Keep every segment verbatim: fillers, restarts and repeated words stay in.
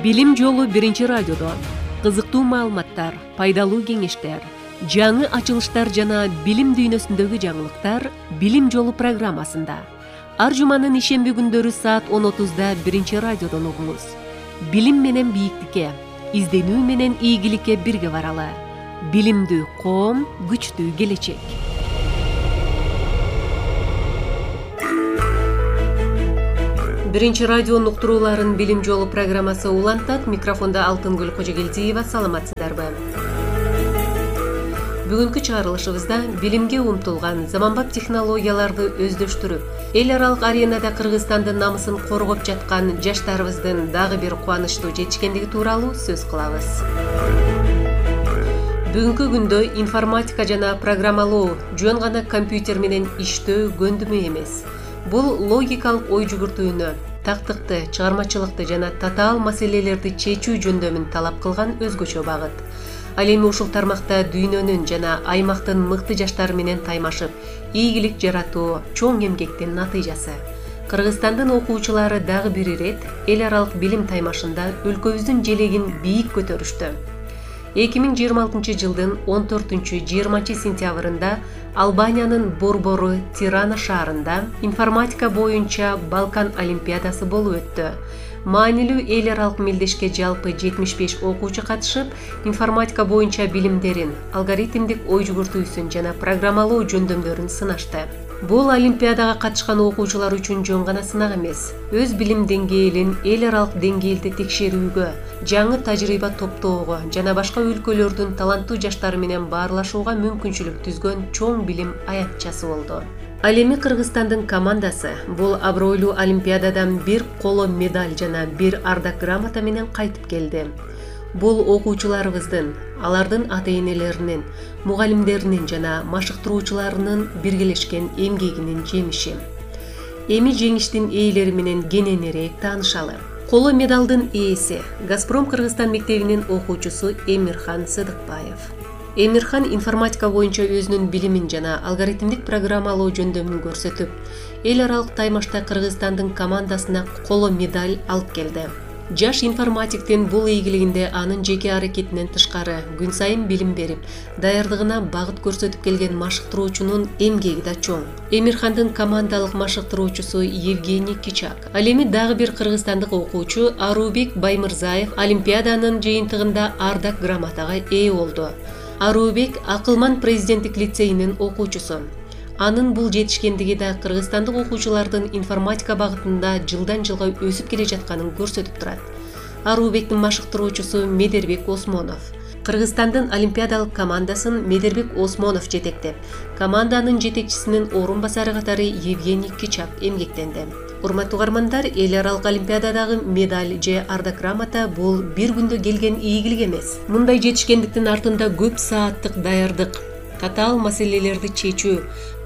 Билим жолу биринчи радиодо кызыктуу маалыматтар, пайдалуу кеңештер, жаңы ачылыштар жана билим дүйнөсүндөгү жаңылыктар Билим жолу программасында. Ар жуманын ишемби күндөрү саат он отузда биринчи радиодон угуңуз. Билим менен бийиктикке, изденүү менен ийгиликке бирге баралы. Билимдүү коом, күчтүү келечек. Биринчи радионун уктурууларын Билим жолу программасы улантат. Микрофонда Алтынгүл Кожогелдиева. Саламатсыздарбы? Бүгүнкү чыгарылышыбызда билимге умтулган заманбап технологияларды өздөштүрүп, эл аралык аренада Кыргызстандын намысын коргоп жаткан жаштарыбыздын дагы бир кубанычтуу жетишкендиги тууралуу сөз кылабыз. Бүгүнкү күндө информатика жана программалоо жөн гана компьютер менен иштөө көндүмү эмес. Бул логикалык ой жүгүртүүнү, тактыкты, чыгармачылыкты жана татаал маселелерди чечүү жөндөмүн талап кылган өзгөчө багыт. Ал эми ушул тармакта дүйнөнүн жана аймактын мыкты жаштары менен таймашып, ийгилик жаратуу чоң эмгектин натыйжасы. Кыргызстандын окуучулары дагы бир ирет эл аралык билим таймашында өлкөбүздүн желегин бийик көтөрүштү. эки миң жыйырма алтынчы жылдын он төртүнчү жыйырманчы сентябрында Албаниянын борбору Тирана шаарында информатика боюнча Балкан олимпиадасы болуп өттү. Маанилүү эл аралык мелдешке жалпы жетимиш беш окуучу катышып, информатика боюнча билимдерин, алгоритмдик ой жүгүртүүсүн жана программалоо жөндөмдөрүн сынашты. Бул олимпиадага катышкан окуучулар үчүн жөн гана сынак эмес, өз билим деңгээлин эл аралык деңгээлде текшерүүгө, жаңы тажрыйба топтоого жана башка өлкөлөрдүн таланттуу жаштары менен баарлашууга мүмкүнчүлүк түзгөн чоң билим аянтчасы болду. Ал эми Кыргызстандын командасы бул абройлуу олимпиададан бир коло медаль жана бир ардак грамота менен кайтып келди. Бул окуучуларыбыздын, алардын ата-энелеринин, мугалимдеринин жана машыктыруучуларынын биргелешкен эмгегинин жемиши. Эми жеңиштин ээлери менен кененирээк таанышалы. Коло медалдын ээси Газпром Кыргызстан мектебинин окуучусу Эмирхан Сыдыкбаев. Эмирхан информатика боюнча өзүнүн билимин жана алгоритмдик программалоо жөндөмүн көрсөтүп, эл аралык таймашта Кыргызстандын командасына коло медаль алып келди. Жаш информатиктин бул ийгилигинде анын жеке аракетинен тышкары күн сайын билим берип, даярдыгына багыт көрсөтүп келген машыктыруучунун эмгеги да чоң. Эмирхандын командалык машыктыруучусу Евгений Кичак. Ал эми дагы бир кыргызстандык окуучу Арубек Баймырзаев олимпиаданын жыйынтыгында ардак грамотага ээ болду. Арубек Акылман президенттик лицейинин окуучусу. Анын бул жетишкендиги да кыргызстандык окуучулардын информатика багытында жылдан жылга өсүп келе жатканын көрсөтүп турат. Арубектин машыктыруучусу Медербек Осмонов. Кыргызстандын олимпиадалык командасын Медербек Осмонов жетектеп, команданын жетекчисинин орун басары катары Евгений Кичак эмгектенди. Урматтуу угармандар, эл аралык олимпиададагы медаль же ардак грамота бул бир күндө келген ийгилик эмес. Мындай жетишкендиктин артында көп сааттык даярдык, татаал маселелерди чечүү,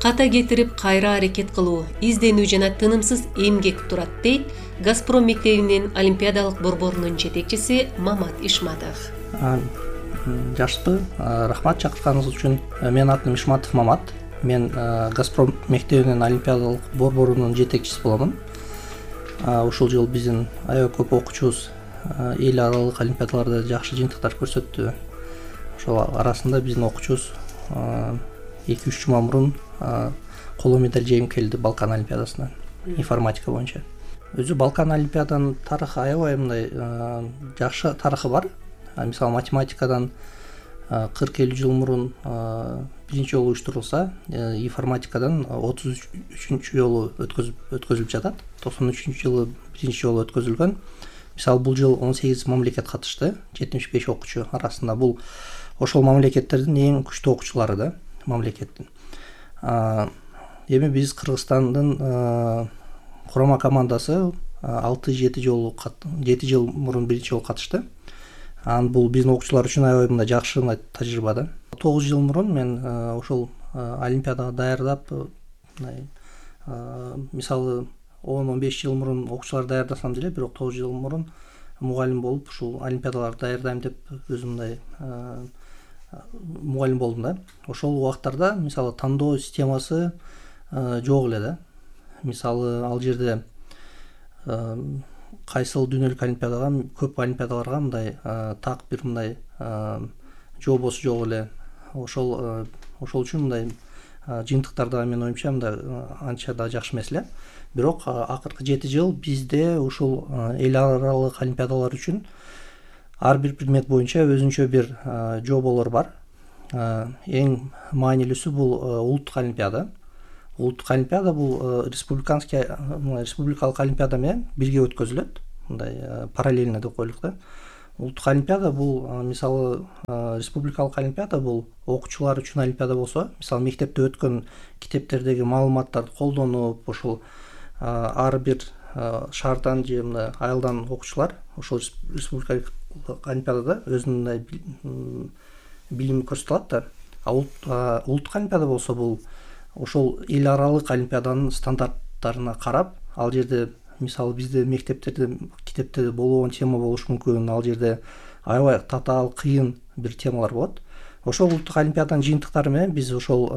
ката кетирип кайра аракет кылуу, изденүү жана тынымсыз эмгек турат, дейт Газпром мектебинин олимпиадалык борборунун жетекчиси Мамат Ишматов. Жашпы, рахмат чакыртканыңыз үчүн. Менин атым Ишматов Мамат. Мен Газпром мектебинин олимпиадалык борборунун жетекчиси боломун. Ушул жыл биздин аябай көп окуучубуз эл аралык олимпиадаларда жакшы жыйынтыктар көрсөттү. Ошол арасында биздин окуучубуз эки үч жума мурун коло медаль жеңип келди Балкан олимпиадасынан информатика боюнча. Өзү Балкан олимпиаданын тарыхы аябай мындай жакшы тарыхы бар. Мисалы математикадан кырк элүү жыл мурун биринчи жолу уюштурулса, информатикадан отуз үчүнчү жолу өткөзүлүп жатат. токсон үчүнчү жылы биринчи жолу өткөзүлгөн. Мисалы бул жыл он сегиз мамлекет катышты, жетимиш беш окуучу арасында. Бул ошол мамлекеттердин эң күчтүү окуучулары да мамлекеттин. Эми биз Кыргызстандын курама командасы алты жети жолу жети жыл мурун биринчи жолу катышты. Ан бул биздин окуучулар үчүн аябай мындай жакшы тажрыйба да. тогуз жыл мурун мен ошол олимпиадага даярдап, мисалы он он беш жыл мурун окуучулар даярдасам деле, бирок тогуз жыл мурун мугалим болуп ушул олимпиадаларды даярдайм деп өзүм мындай мугалим болдум да. Ошол убактарда мисалы тандоо системасы жок эле да. Мисалы ал жерде кайсыл дүйнөлүк олимпиадага, көп олимпиадаларга мындай так бир мындай жообосу жок эле. Ошол ошол үчүн мындай жыйынтыктар да менин оюмча мындай анча да жакшы эмес эле. Бирок акыркы жети жыл бизде ушул эл аралык олимпиадалар үчүн ар бир предмет боюнча өзүнчө бир жооболор бар. Эң маанилүүсү бул улуттук олимпиада. Улуттук олимпиада бул республиканский республикалык олимпиада менен бирге өткөзүлөт. Мындай параллельно деп коелук да. Улуттук олимпиада бул мисалы республикалык олимпиада бул окуучулар үчүн олимпиада болсо, мисалы мектепте өткөн китептердеги маалыматтарды колдонуп, ошол ар бир шаардан же мындай айылдан окуучулар ошол республикалык олимпиадада өзүнүн билимин көрсөтө алат да. А улуттук олимпиада болсо бул ошол эл аралык олимпиаданын стандарттарына карап, ал жерде мисалы бизде мектептерде китепте болбогон тема болушу мүмкүн, ал жерде аябай татаал, кыйын бир темалар болот. Ошол улуттук олимпиаданын жыйынтыктары менен биз ошол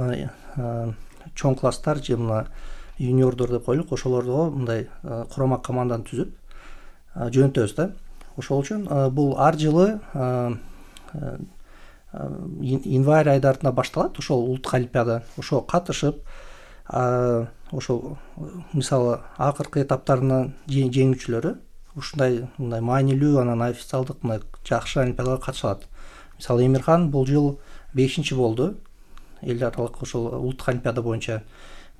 чоң класстар же мына юниордор деп коелук, ошолорго мындай курама команданы түзүп жөнөтөбүз да. Ошол үчүн бул ар жылы январь айдарында башталат ошол улуттук олимпиада. Ошого катышып, ошол мисалы акыркы этаптарына жеңүүчүлөрү ушундай мындай маанилүү, анан официалдык мындай жакшы олимпиадага катышат. Мисалы Эмирхан бул жыл бешинчи болду эл аралык ошол улуттук олимпиада боюнча.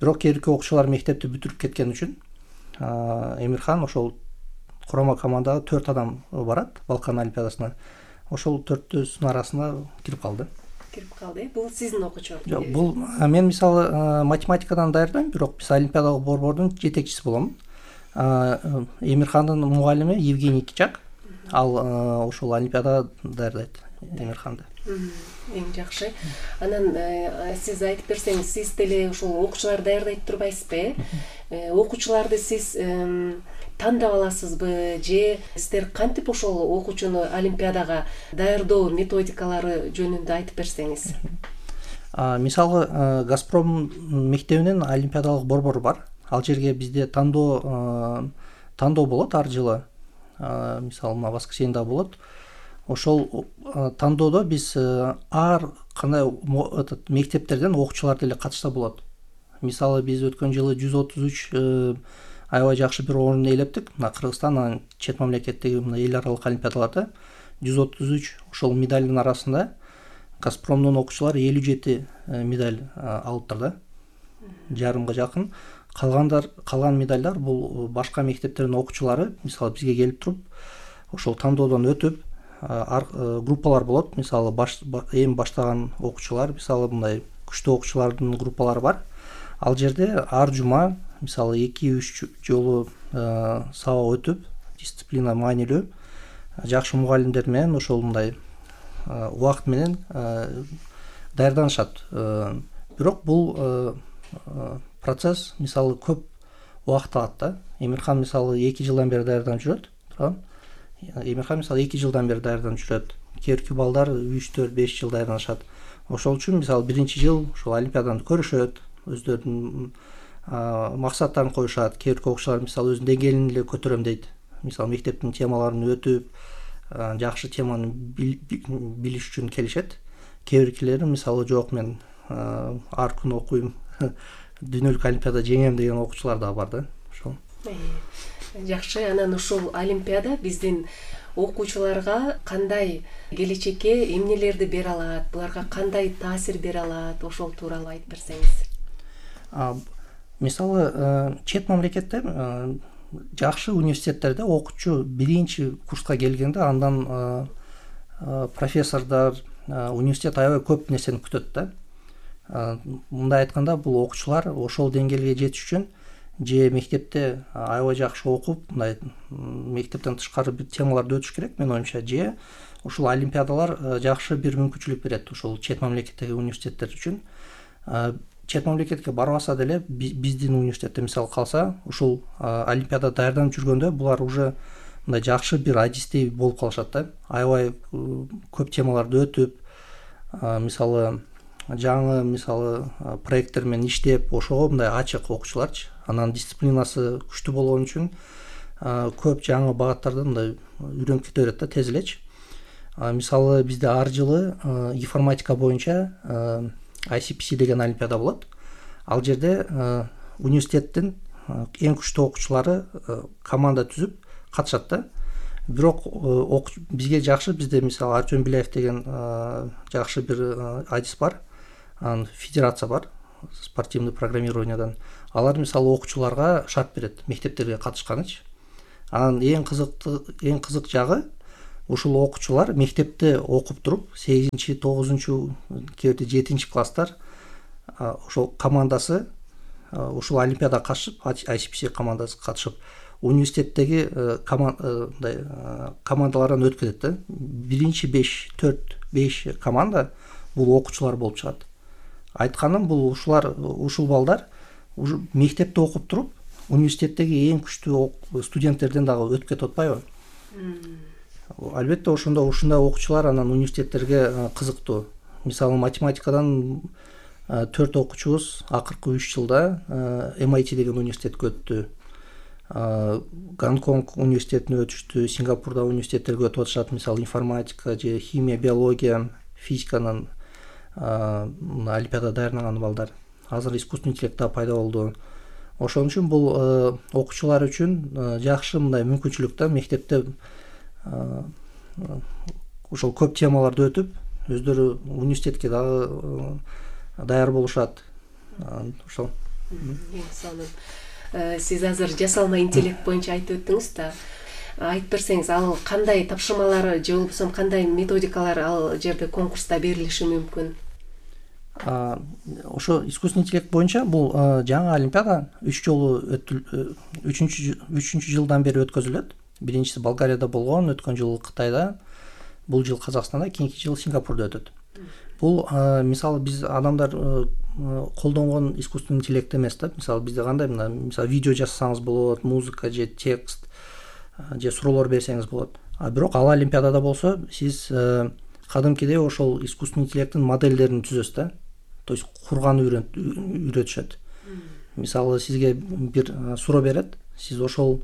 Бирок кээинки окуучулар мектепти бүтүрүп кеткен үчүн Эмирхан ошол курама командага төрт адам барат Балкан олимпиадасына. Ошол төртөөсүнүн арасына кирип калды. Кирип калды. Бул сиздин окуучуңуз? Жок, бул мен мисалы математикадан даярдайм, бирок биз олимпиадалык борбордун жетекчиси болом. Эмирхандын мугалими Евгений Кичак, ал ошол олимпиадага даярдайт Эмирханды. Эң жакшы. Анан сиз айтып берсеңиз, сиз деле ошол окуучуларды даярдайт турбайсызбы? Окуучуларды сиз тандап аласызбы же сиздер кантип ошол окуучуну олимпиадага даярдоо методикалары жөнүндө айтып берсеңиз? Мисалы Газпром мектебинин олимпиадалык борбору бар. Ал жерге бизде тандоо тандоо болот ар жылы. Мисалы мына воскресенье болот. Ошол тандоодо биз ар кандай этот мектептерден окуучулар деле катышса болот. Мисалы биз өткөн жылы жүз отуз үч аябай жакшы бир орун ээлептик. Мына Кыргызстан, анан чет мамлекеттеги мына эл аралык олимпиадаларда жүз отуз үч ошол медалдын арасында Газпромдун окуучулары элүү жети медаль алыптыр да. Жарымга жакын. Калгандар, калган медальдар бул башка мектептердин окуучулары, мисалы бизге келип туруп, ошол тандоодон өтүп, группалар болот. Мисалы эми баштаган окуучулар, мисалы мындай күчтүү окуучулардын группалары бар. Ал жерде ар жума мисалы эки үч жолу сабак өтүп, дисциплина маанилүү, жакшы мугалимдер менен ошол мындай убакыт менен даярданышат. Бирок бул процесс мисалы көп убакыт алат да. Эмирхан мисалы эки жылдан бери даярданып жүрөт. Эмирхан мисалы эки жылдан бери даярданып жүрөт. Кээинки балдар үч төрт беш жыл даярданышат. Ошол үчүн мисалы биринчи жыл ошол олимпиаданы көрүшөт, өздөрүнүн максаттарын коюшат. Кээинки окуучулар мисалы өзүнүн деңгээлин эле көтөрөм дейт. Мисалы мектептин темаларын өтүп, жакшы теманы билиш үчүн келишет. Кээинкилери мисалы жок, мен ар күнү окуйм, дүйнөлүк олимпиада жеңем деген окуучулар да бар да. Ошол. Жакшы. Анан ушул олимпиада биздин окуучуларга кандай келечекке эмнелерди бере алат, буларга кандай таасир бере алат, ошол тууралуу айтып берсеңиз? Мисалы чет мамлекетте жакшы университеттерде окуучу биринчи курска келгенде андан профессордор, университет аябай көп нерсени күтөт да. Мындай айтканда, бул окуучулар ошол деңгээлге жетиш үчүн же мектепте аябай жакшы окуп, мындай мектептен тышкары бир темаларды өтүш керек, менин оюмча, же ушул олимпиадалар жакшы бир мүмкүнчүлүк берет ушул чет мамлекеттеги университеттер үчүн. Чет мамлекетке барбаса деле биздин университетте мисалы калса, ушул олимпиада даярданып жүргөндө булар уже мындай жакшы бир адистей болуп калышат да. Аябай көп темаларды өтүп, мисалы жаңы мисалы проекттер менен иштеп, ошого мындай ачык окуучуларчы. Анан дисциплинасы күчтүү болгон үчүн көп жаңы багаттарда мындай үйрөнүп кете берет да, тез элечи. Мисалы бизде ар жылы информатика боюнча ай си пи си деген олимпиада болот. Ал жерде университеттин эң күчтүү окуучулары команда түзүп катышат да. Бирок бизге жакшы, бизде мисалы Артем Беляев деген жакшы бир адис бар, анын федерация бар спортивный программированиядан. Алар мисалы окуучуларга шарт берет мектептерге катышканычы. Анан эң кызыктуу эң кызык жагы, ушул окуучулар мектепте окуп туруп сегизинчи тогузунчу кээде жетинчи класстар ошол командасы ушул олимпиадага катышып, ай си пи си командасы катышып университеттеги командалардан өтүп кетет да. Биринчи беш, төрт, беш команда бул окуучулар болуп чыгат. Айтканым, бул ушулар ушул балдар ушу мектепте окуп туруп университеттеги эң күчтүү студенттерден дагы өтүп кетип атпайбы? Албетте ошондо ушундай окуучулар анан университеттерге кызыктуу. Мисалы математикадан төрт окуучубуз акыркы үч жылда эм ай ти деген университетке өттү. Гонконг университетине өтүштү, Сингапурда университеттерге өтүп атышат. Мисалы информатика же химия, биология, физиканын олимпиада даярдаган балдар. Азыр искусственный интеллект да пайда болду. Ошон үчүн бул окуучулар үчүн жакшы мындай мүмкүнчүлүк да, мектепте ошол көп темаларды өтүп, өздөрү университетке дагы даяр болушат. Ошол. Сиз азыр жасалма интеллект боюнча айтып өттүңүз да. Айтып берсеңиз, ал кандай тапшырмалары же болбосо кандай методикалар ал жерде конкурста берилиши мүмкүн? Ошо искусственный интеллект боюнча бул жаңы олимпиада үч жолу үчүнчү үчүнчү жылдан бери өткөзүлөт. Биринчиси Болгарияда болгон, өткөн жыл Кытайда, бул жыл Казакстанда, кийинки жыл Сингапурда өтөт. Бул мисалы биз адамдар колдонгон искусственный интеллект эмес да. Мисалы бизде кандай мына мисалы видео жазсаңыз болот, музыка же текст же суроолор берсеңиз болот. А бирок ал олимпиадада болсо сиз кадимкидей ошол искусственный интеллекттин модельдерин түзөсүз да. То есть курганы үйрөтүшөт. Мисалы сизге бир суроо берет, сиз ошол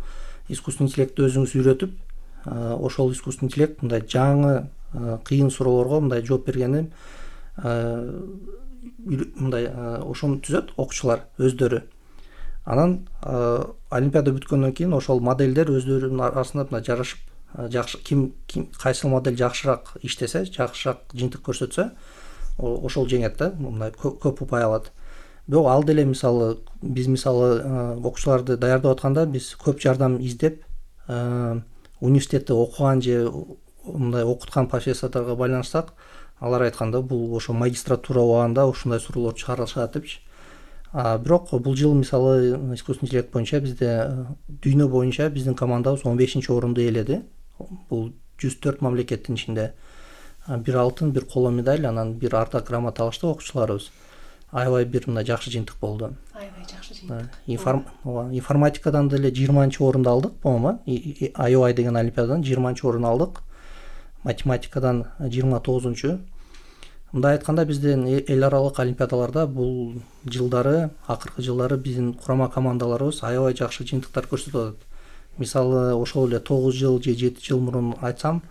искусственный интеллектти өзүңүз үйрөтүп, ошол искусственный интеллект мындай жаңы кыйын суроолорго мындай жооп бергени мындай ошону түзөт окуучулар өздөрү. Анан олимпиада бүткөндөн кийин ошол модельдер өздөрүнүн арасында мындай жарашып, жакшы ким ким кайсы модель жакшыраак иштесе, жакшыраак жыйынтык көрсөтсө, ошол жеңет да, мындай көп упай алат. Бирок ал деле мисалы биз мисалы окуучуларды даярдап атканда биз көп жардам издеп, университетте окуган же мындай окуткан профессордорго байланышсак, алар айтканда бул ошо магистратура убагында ушундай суроолор чыгарылышат депчи. Бирок бул жыл мисалы искусственный интеллект боюнча бизде дүйнө боюнча биздин командабыз он бешинчи орунду ээледи. Бул жүз төрт мамлекеттин ичинде бир алтын, бир коло медаль, анан бир ардак грамота алышты окуучуларыбыз. Аябай бир мындай жакшы жыйынтык болду. Аябай жакшы жыйынтык. Информатикадан деле жыйырманчы орунду алдык, по-моему, ай о ай деген олимпиададан жыйырманчы орун алдык. Математикадан жыйырма тогузунчу. Мындай айтканда биздин эл аралык олимпиадаларда бул жылдары, акыркы жылдары биздин курама командаларыбыз аябай жакшы жыйынтыктар көрсөтүп атат. Мисалы ошол эле тогуз жыл же жети жыл мурун айтсам,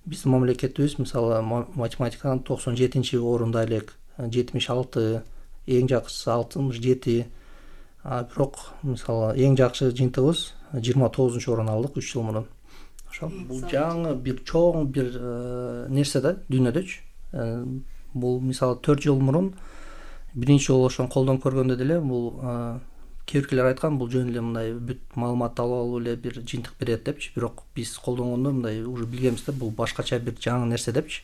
биздин мамлекетибиз мисалы математикадан токсон жетинчи орунда элек, жетимиш алты, эң жакшысы алтымыш жети. Бирок мисалы эң жакшы жыйынтыгыбыз жыйырма тогузунчу орун алдык үч жыл мурун. Ошол бул жаңы бир чоң бир нерсе да дүйнөдөчү. Бул мисалы төрт жыл мурун биринчи жолу ошону колдон көргөндө деле бул кээ биркилер айткан, бул жөн эле мындай бүт маалыматты алып алып эле бир жыйынтык берет депчи. Бирок биз колдонгондо мындай уже билгенбиз да, бул башкача бир жаңы нерсе депчи.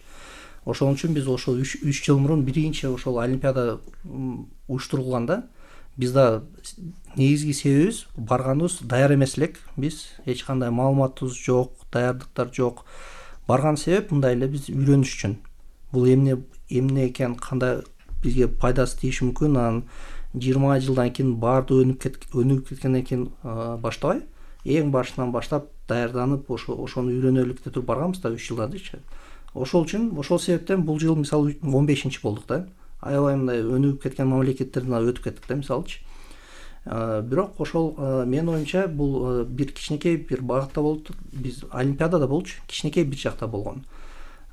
Ошон үчүн биз ошол үч жыл мурун биринчи ошол олимпиада уюштурулганда биз да негизги себебибиз барганыбыз даяр эмес элек. Биз эч кандай маалыматыбыз жок, даярдыктар жок. Барган себеп мындай эле биз үйрөнүш үчүн. Бул эмне эмне экен, кандай бизге пайдасы тийиши мүмкүн, анан жыйырма жылдан кийин баарды өнүп өнүгүп кеткенден кийин баштабай, эң башынан баштап даярданып, ошо ошону үйрөнөлүк деп туруп барганбыз да үч жылдан дечи. Ошол үчүн, ошол себептен бул жыл мисалы он бешинчи болдук да. Аябай мындай өнүгүп кеткен мамлекеттерден өтүп кеттик да, мисалычы. Бирок ошол менин оюмча бул бир кичинекей бир багытта болуп, биз олимпиадада болчу, кичинекей бир жакта болгон.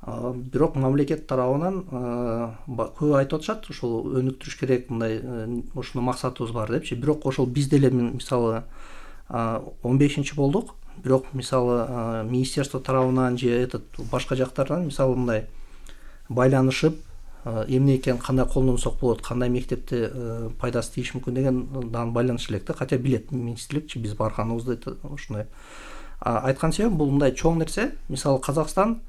Бирок мамлекет тарабынан көп айтып атышат, ошол өнүктүрүш керек, мындай ушуну максатыбыз бар депчи. Бирок ошол биз деле мисалы он бешинчи болдук, бирок мисалы министерство тарабынан же этот башка жактардан мисалы мындай байланышып, эмне экен, кандай колдонсок болот, кандай мектепте пайдасы тийиш мүмкүн деген дан байланыш элек да, хотя билет министрликчи, биз барганыбызды ушундай айткан себебим бул мындай чоң нерсе. Мисалы Казакстан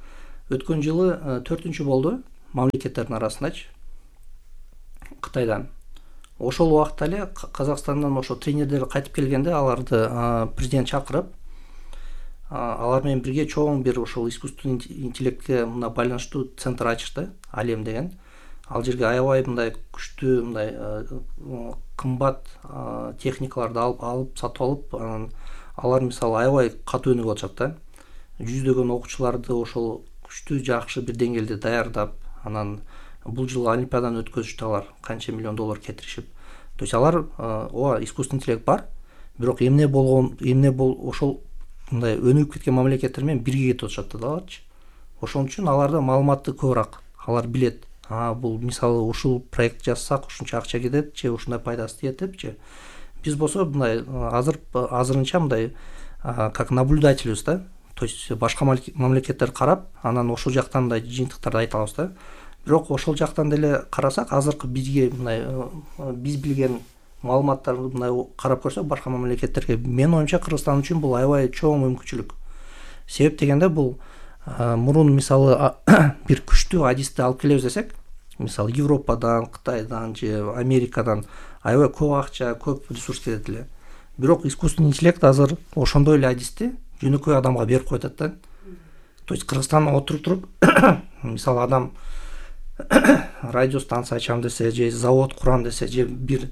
өткөн жылы төртүнчү болду мамлекеттердин арасындачы Кытайдан. Ошол убакта эле Казакстандан ошо тренерлер кайтып келгенде аларды президент чакырып, алар менен бирге чоң бир ошол искусственный интеллектке мына байланыштуу центр ачышты, Алем деген. Ал жерге аябай мындай күчтүү, мындай кымбат техникаларды алып алып сатып алып, алар мисалы аябай катуу өнүгүп атышат да. Жүздөгөн окуучуларды ошол күчтүү жакшы бир деңгээлде даярдап, анан бул жылы олимпиаданы өткөзүштү алар, канча миллион доллар кетиришип. То есть алар ооба искусственный интеллект бар, бирок эмне болгон, эмне бол ошол мындай өнүгүп кеткен мамлекеттер менен бирге кетип атышат да аларчы. Ошон үчүн аларда маалыматты көбүрөөк, алар билет. А бул мисалы ушул проект жазсак ушунча акча кетет, же ушундай пайдасы тиет депчи. Биз болсо мындай азыр азырынча мындай как наблюдательбиз да. То есть башка мамлекеттер карап, анан ошол жактан мындай жыйынтыктарды айта алабыз да. Бирок ошол жактан деле карасак, азыркы бизге мындай биз билген маалыматтарды мындай карап көрсөк башка мамлекеттерге, менин оюмча Кыргызстан үчүн бул аябай чоң мүмкүнчүлүк. Себеп дегенде бул мурун мисалы бир күчтүү адисти алып келебиз десек, мисалы Европадан, Кытайдан же Америкадан аябай көп акча, көп ресурс кетет эле. Бирок искусственный интеллект азыр ошондой эле адисти жөнөкөй адамга берип коет да. То есть Кыргызстанда отуруп туруп, мисалы адам радиостанция ачам десе, же завод курам десе, же бир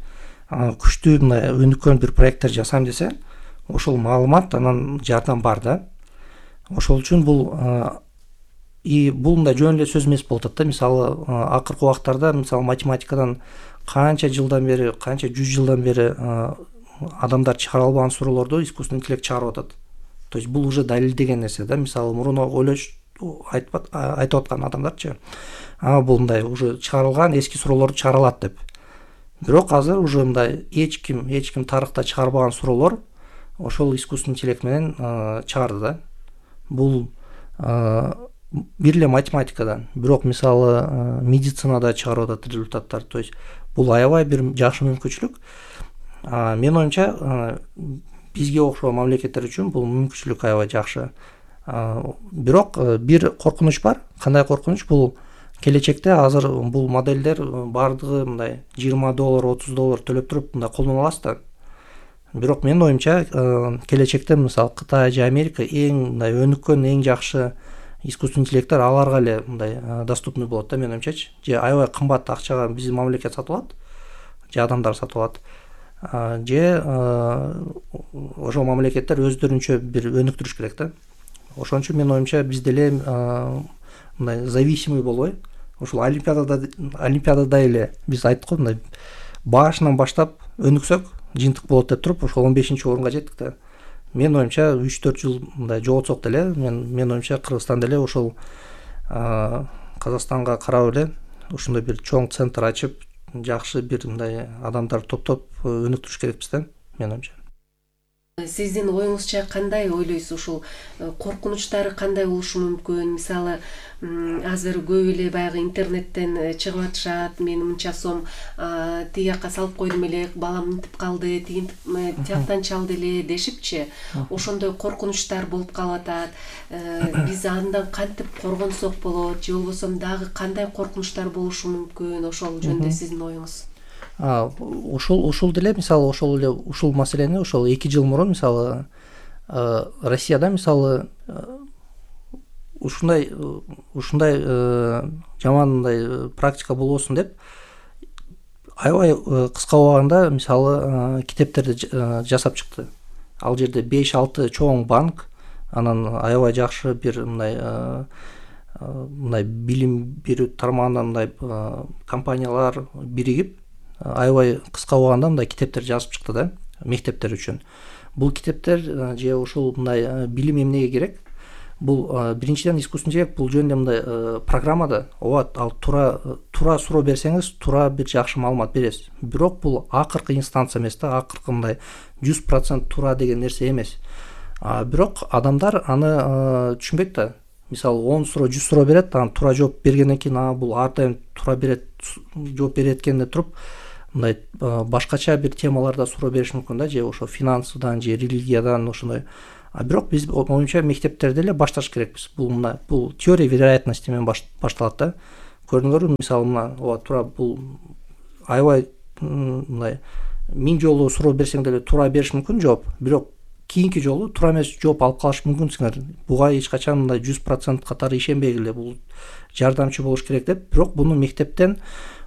күчтүү мындай өнүккөн бир проекттер жасайм десе, ошол маалымат анан жардам бар да. Ошол үчүн бул и бул мындай жөн эле сөз эмес болуп атат да. Мисалы акыркы убактарда мисалы математикадан канча жылдан бери, канча жүз жылдан бери адамдар чыгара албаган суроолорду искусственный интеллект чыгарып атат. То есть бул уже далилдеген нерсе да. Мисалы мурун ойлош айтып аткан адамдарчы, а бул мындай уже чыгарылган эски суроолорду чыгара алат деп. Бирок азыр уже мындай эч ким, эч ким тарыхта чыгарбаган суроолор ошол искусственный интеллект менен чыгарды да. Бул бир эле математикадан, бирок мисалы медицинада чыгарып атат результаттар. То есть бул аябай бир жакшы мүмкүнчүлүк. Менин оюмча бизге окшогон мамлекеттер үчүн бул мүмкүнчүлүк аябай жакшы. Бирок бир коркунуч бар. Кандай коркунуч? Бул келечекте азыр бул моделдер бардыгы мындай жыйырма доллар, отуз доллар төлөп туруп мындай колдоно аласыз да. Бирок менин оюмча келечекте мисалы Кытай же Америка эң мындай өнүккөн, эң жакшы искусственный интеллекттер аларга эле мындай доступный болот да, менин оюмчачы. Же аябай кымбат акчага биздин мамлекет сатып алат, же адамдар сатып алат. Же ошол мамлекеттер өздөрүнчө бир өнүктүрүш керек да. Ошон үчүн менин оюмча биз деле мындай зависимый болбой, ошол олимпиадада олимпиадада эле биз айттык го, мындай башынан баштап өнүксөк жыйынтык болот деп туруп ошол он бешинчи орунга жеттик да. Менин оюмча үч төрт жыл мындай жоготсок деле, мен менин оюмча Кыргызстан деле ошол Казакстанга карап эле ушундай бир чоң центр ачып, жакшы бир мындай адамдар топтоп өнүктүрүш керекпиз да, менин оюмча. Сиздин оюңузча кандай ойлойсуз, ушул коркунучтары кандай болушу мүмкүн? Мисалы, азыр көп эле баягы интернеттен чыгып атышат, мен мынча сом тиги жакка салып койдум эле, балам мынтип калды, тияктан чалды эле дешипчи, ошондой коркунучтар болуп калып атат. Биз андан кантип коргонсок болот, же болбосо дагы кандай коркунучтар болушу мүмкүн? Ошол жөнүндө сиздин оюңуз? Ошол ошол деле мисалы ошол эле ушул маселени ошол эки жыл мурун мисалы Россияда мисалы ушундай ушундай жаман мындай практика болбосун деп аябай кыска убагында мисалы китептерди жасап чыкты. Ал жерде беш алты чоң банк, анан аябай жакшы бир мындай мындай билим берүү тармагынан мындай компаниялар биригип аябай кыска убагында мындай китептер жазып чыкты да, мектептер үчүн. Бул китептер же ушул мындай билим эмнеге керек? Бул биринчиден искусственный интеллект бул жөнүндө мындай программада ооба ал туура туура суроо берсеңиз туура бир жакшы маалымат бересиз. Бирок бул акыркы инстанция эмес да, акыркы мындай жүз процент туура деген нерсе эмес. Бирок адамдар аны түшүнбөйт да. Мисалы он суроо жүз суроо берет, анан туура жооп бергенден кийин а бул ар дайым туура берет, жооп берет экенин туруп мындай башкача бир темаларда суроо бериш мүмкүн да, же ошо финансыдан же религиядан ошондой. А бирок биз оюмча мектептерде эле башташ керекпиз. Бул мына бул теория вероятности менен башталат да. Көрдүңөрбү, мисалы мына ооба туура бул аябай мындай миң жолу суроо берсең деле туура бериш мүмкүн жооп, бирок кийинки жолу туура эмес жооп алып калыш мүмкүнсүңөр. Буга эч качан мындай жүз процент катары ишенбегиле, бул жардамчы болуш керек деп, бирок буну мектептен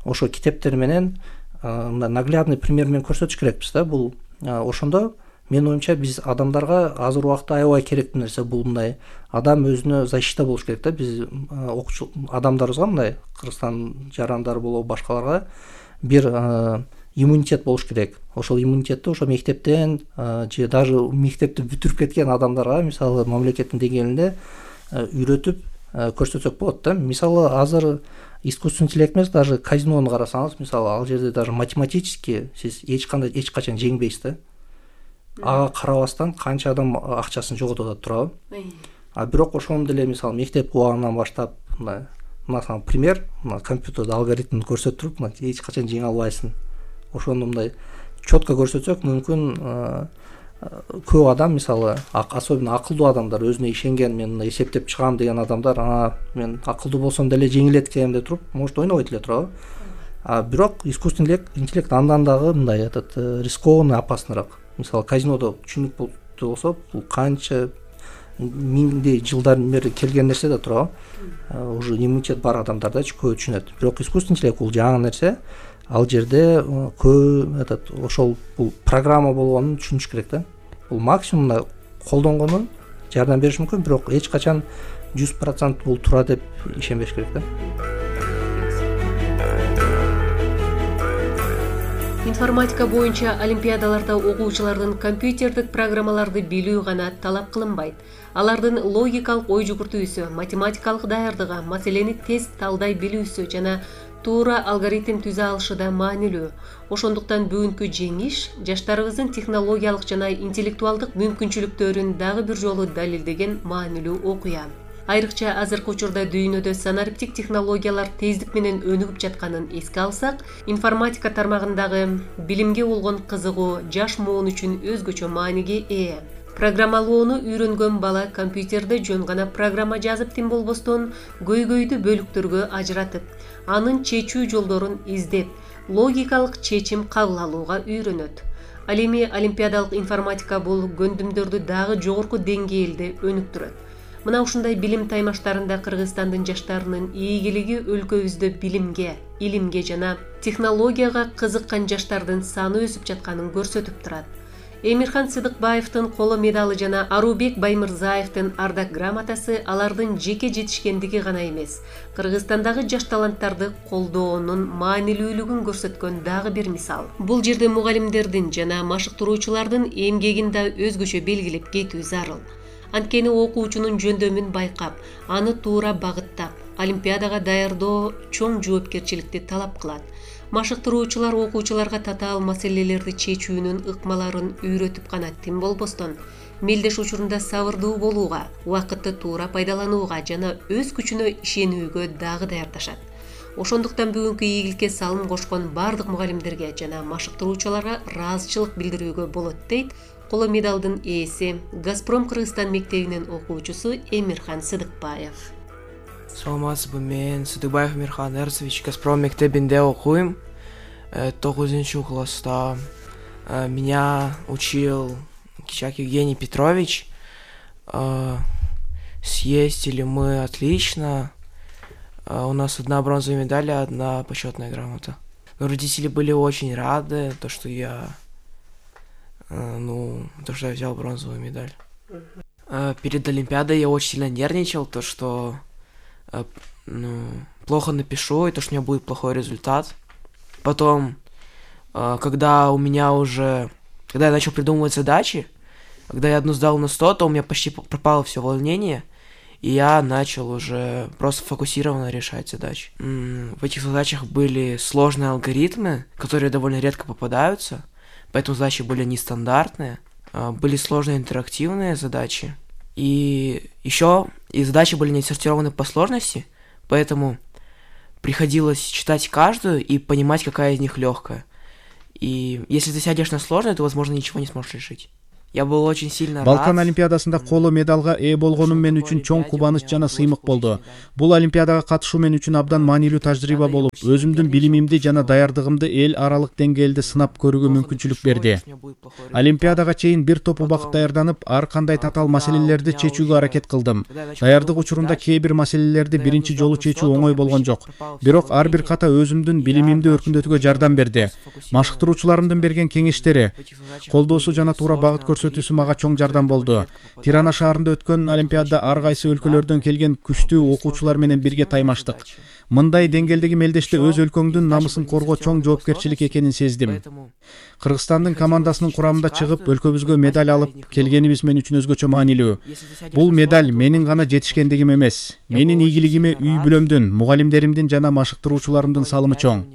ошо китептер менен мындай наглядный пример менен көрсөтүш керекпиз да. Бул ошондо менин оюмча биз адамдарга азыр убакта аябай керектүү нерсе бул мындай адам өзүнө защита болуш керек да. Биз окуучу адамдарыбызга мындай Кыргызстан жарандар болобу башкаларга бир иммунитет болуш керек. Ошол иммунитетти ошо мектептен же даже мектепти бүтүрүп кеткен адамдарга мисалы мамлекеттин деңгээлинде үйрөтүп көрсөтсөк болот да. Мисалы азыр искусственный интеллект эмес, даже казинону карасаңыз, мисалы ал жерде даже математически сиз эч кандай эч качан жеңбейсиз да. Ага карабастан канча адам акчасын жоготуп атат, туурабы? А бирок ошону деле мисалы мектеп убагынан баштап мына мына пример, мына компьютерде алгоритмин көрсөтүп, мына эч качан жеңе албайсың. Ошону мындай четко көрсөтсөк мүмкүн көп адам мисалы особенно акылдуу адамдар өзүнө ишенген, мен мына эсептеп чыгам деген адамдар, ана мен акылдуу болсом деле жеңилет экеним деп туруп, может ойнобойт эле, туурабы? А бирок искусственный интеллект андан дагы мындай этот рискованный, опасныйраак. Мисалы казинодо түшүнүк болсо, бул канча миңдей жылдар бери келген нерсе да, туурабы? Уже иммунитет бар адамдарда көп түшүнөт. Бирок искусственный интеллект бул жаңы нерсе. Ал жерде көп этот ошол бул программа болгонун түшүнүш керек да. Бул максимум колдонгону жардам бериш мүмкүн, бирок эч качан жүз процент бул туура деп ишенбеш керек да. Информатика боюнча олимпиадаларда окуучулардын компьютердик программаларды билүү гана талап кылынбайт. Алардын логикалык ой жүгүртүүсү, математикалык даярдыгы, маселени тез талдай билүүсү жана туура алгоритм түзө алышы да маанилүү. Ошондуктан бүгүнкү жеңиш жаштарыбыздын технологиялык жана интеллектуалдык мүмкүнчүлүктөрүн дагы бир жолу далилдеген маанилүү окуя. Айрыкча азыркы учурда дүйнөдө санариптик технологиялар тездик менен өнүгүп жатканын эске алсак, информатика тармагындагы билимге болгон кызыгуу жаш муун үчүн өзгөчө мааниге ээ. Программалоону үйрөнгөн бала компьютерде жөн гана программа жазып тим болбостон, көйгөйдү бөлүктөргө ажыратып, анын чечүү жолдорун издеп, логикалык чечим кабыл алууга үйрөнөт. Ал эми олимпиадалык информатика бул көндүмдөрдү дагы жогорку деңгээлде өнүктүрөт. Мына ушундай билим таймаштарында Кыргызстандын жаштарынын ийгилиги өлкөбүздө билимге, илимге жана технологияга кызыккан жаштардын саны өсүп жатканын көрсөтүп турат. Эмирхан Сыдыкбаевдин коло медалы жана Арубек Баймырзаевдин ардак грамотасы алардын жеке жетишкендиги гана эмес, Кыргызстандагы жаш таланттарды колдоонун маанилүүлүгүн көрсөткөн дагы бир мисал. Бул жерде мугалимдердин жана машыктыруучулардын эмгегин да өзгөчө белгилеп кетүү зарыл. Анткени окуучунун жөндөмүн байкап, аны туура багыттап, олимпиадага даярдоо чоң жоопкерчиликти талап кылат. Машыктыруучулар окуучуларга татаал маселелерди чечүүнүн ыкмаларын үйрөтүп гана тим болбостон, мелдеш учурунда сабырдуу болууга, убакытты туура пайдаланууга жана өз күчүнө ишенүүгө дагы даярдашат. Ошондуктан бүгүнкү ийгиликке салым кошкон бардык мугалимдерге жана машыктыруучуларга ыраазычылык билдирүүгө болот дейт коло медалдын ээси, Газпром Кыргызстан мектебинин окуучусу Эмирхан Сыдыкбаев. Саламатсызбы, мен Сыдыкбаев Эмирхан Эрсович, Газпром мектебинде окуйм. тогузунчу класста. Меня учил Кичак Евгений Петрович. Съездили мы отлично. У нас одна бронзовая медаль, одна почетная грамота. Но родители были очень рады, то, что я, ну, то, что я взял бронзовую медаль. Перед Олимпиадой я очень сильно нервничал, то, что ну, плохо напишу, и то, что у меня будет плохой результат. Потом Когда у меня уже, когда я начал придумывать задачи, когда я одну сдал на сто, то у меня почти пропало все волнение, и я начал уже просто фокусированно решать задачи. В этих задачах были сложные алгоритмы, которые довольно редко попадаются, поэтому задачи были нестандартные, были сложные интерактивные задачи, и еще и задачи были не отсортированы по сложности, поэтому приходилось читать каждую и понимать, какая из них легкая. И если ты сядешь на сложное, то, возможно, ничего не сможешь решить. Я был очень сильно рад. Балкан олимпиадасында коло медалга ээ болгонум мен үчүн чоң кубаныч жана сыймык болду. Бул олимпиадага катышуу мен үчүн абдан маанилүү тажрыйба болуп, өзүмдүн билимимди жана даярдыгымды эл аралык деңгээлде сынап көрүүгө мүмкүнчүлүк берди. Олимпиадага чейин бир топ убакыт даярданып, ар кандай татаал маселелерди чечүүгө аракет кылдым. Даярдык учурунда кээ бир маселелерди биринчи жолу чечүү оңой болгон жок. Бирок ар бир ката өзүмдүн билимимди өркүндөтүүгө жардам берди. Машыктыруучуларымдын берген кеңештери, колдоосу жана туура багыт көрсөтүүсү мага чоң жардам болду. Тирана шаарында өткөн олимпиада ар кайсы өлкөлөрдөн келген күчтүү окуучулар менен бирге таймаштык. Мындай деңгээлдеги мелдеште өз өлкөңдүн намысын коргоо чоң жоопкерчилик экенин сездим. Кыргызстандын командасынын курамында чыгып, өлкөбүзгө медаль алып келгенибиз мен үчүн өзгөчө маанилүү. Бул медаль менин гана жетишкендигим эмес, менин ийгилигиме үй бүлөмдүн, мугалимдеримдин жана машыктыруучуларымдын салымы чоң.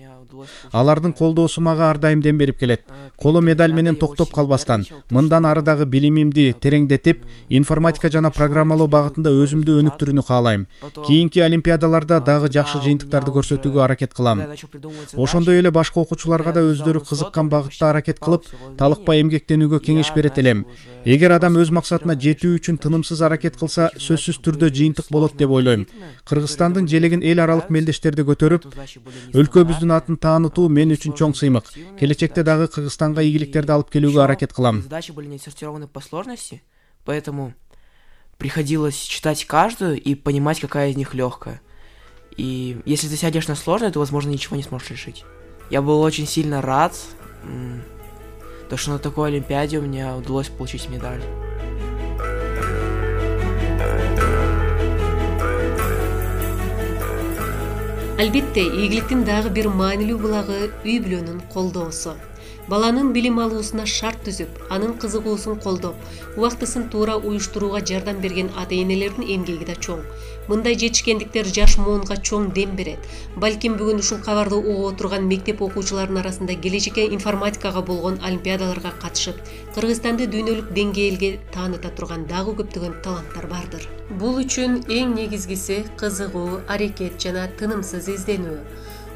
Алардын колдоосу мага ар дайым дем берип келет. Коло медаль менен токтоп калбастан, мындан ары дагы билимимди тереңдетип, информатика жана программалоо багытында өзүмдү өнүктүрүүнү каалайм. Кийинки олимпиадаларда дагы жакшы жыйынтыктарды көрсөтүүгө аракет кылам. Ошондой эле башка окуучуларга да өздөрү кызыккан багытта аракет кылып, талыкпай эмгектенүүгө кеңеш берет элем. Эгер адам өз максатына жетүү үчүн тынымсыз аракет кылса, сөзсүз түрдө жыйынтык болот деп ойлойм. Кыргызстандын желегин эл аралык мелдештерди көтөрүп, өлкөбүздүн атын таанытуу мен үчүн чоң сыймык. Келечекте дагы Кыргызстанга ийгиликтерди алып келүүгө аракет кылам. Задачи были не отсортированы по сложности, поэтому приходилось читать каждую и понимать, какая из них легкая. И если ты сядешь на сложное, то, возможно, ничего не сможешь решить. Я был очень сильно рад, то, что на такой олимпиаде у меня удалось получить медаль. Албетте, ийгиликтин дагы бир маанилүү булагы үй бүлөнүн колдоосу. Баланын билим алуусуна шарт түзүп, анын кызыгуусун колдоп, убактысын туура уюштурууга жардам берген ата-энелердин эмгеги да чоң. Мындай жетишкендиктер жаш муунга чоң дем берет. Балким бүгүн ушул кабарды угуп отурган мектеп окуучуларынын арасында келечекке информатикага болгон олимпиадаларга катышып, Кыргызстанды дүйнөлүк деңгээлге тааныта турган дагы көптөгөн таланттар бардыр. Бул үчүн эң негизгиси кызыгуу, аракет жана тынымсыз изденүү.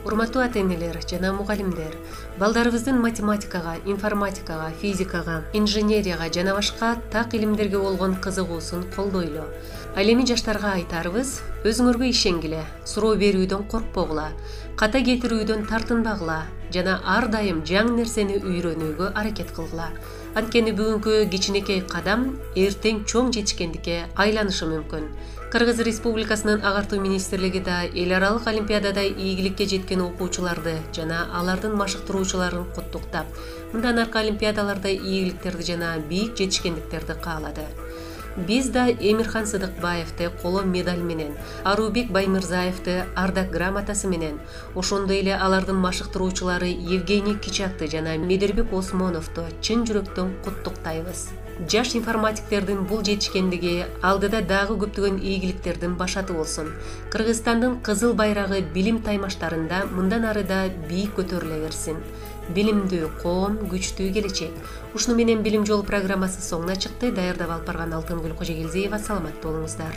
Урматтуу ата-энелер жана мугалимдер, балдарыбыздын математикага, информатикага, физикага, инженерияга жана башка так илимдерге болгон кызыгуусун колдойлу. Ал эми жаштарга айтарыбыз, өзүңөргө ишенгиле, суроо берүүдөн коркпогула, ката кетирүүдөн тартынбагыла жана ар дайым жаңы нерсени үйрөнүүгө аракет кылгыла. Анткени бүгүнкү кичинекей кадам эртең чоң жетишкендикке айланышы мүмкүн. Кыргыз Республикасынын агартуу министрлиги да эл аралык олимпиадада ийгиликке жеткен окуучуларды жана алардын машыктыруучуларын куттуктап, мындан аркы олимпиадаларда ийгиликтерди жана бийик жетишкендиктерди каалады. Биз да Эмирхан Сыдыкбаевди коло медаль менен, Арубек Баймырзаевди ардак грамотасы менен, ошондой эле алардын машыктыруучулары Евгений Кичакты жана Медербек Осмоновду чын жүрөктөн куттуктайбыз. Жаш информатиктердин бул жетишкендиги алдыда дагы көптөгөн ийгиликтердин башаты болсун. Кыргызстандын кызыл байрагы билим таймаштарында мындан ары да бийик көтөрүлө берсин. Билимдүү коом, күчтүү келечек. Ушуну менен Билим жолу программасы соңуна чыкты. Даярдап алып барган Алтынгүл Кожогелдиева. Саламатта болуңуздар.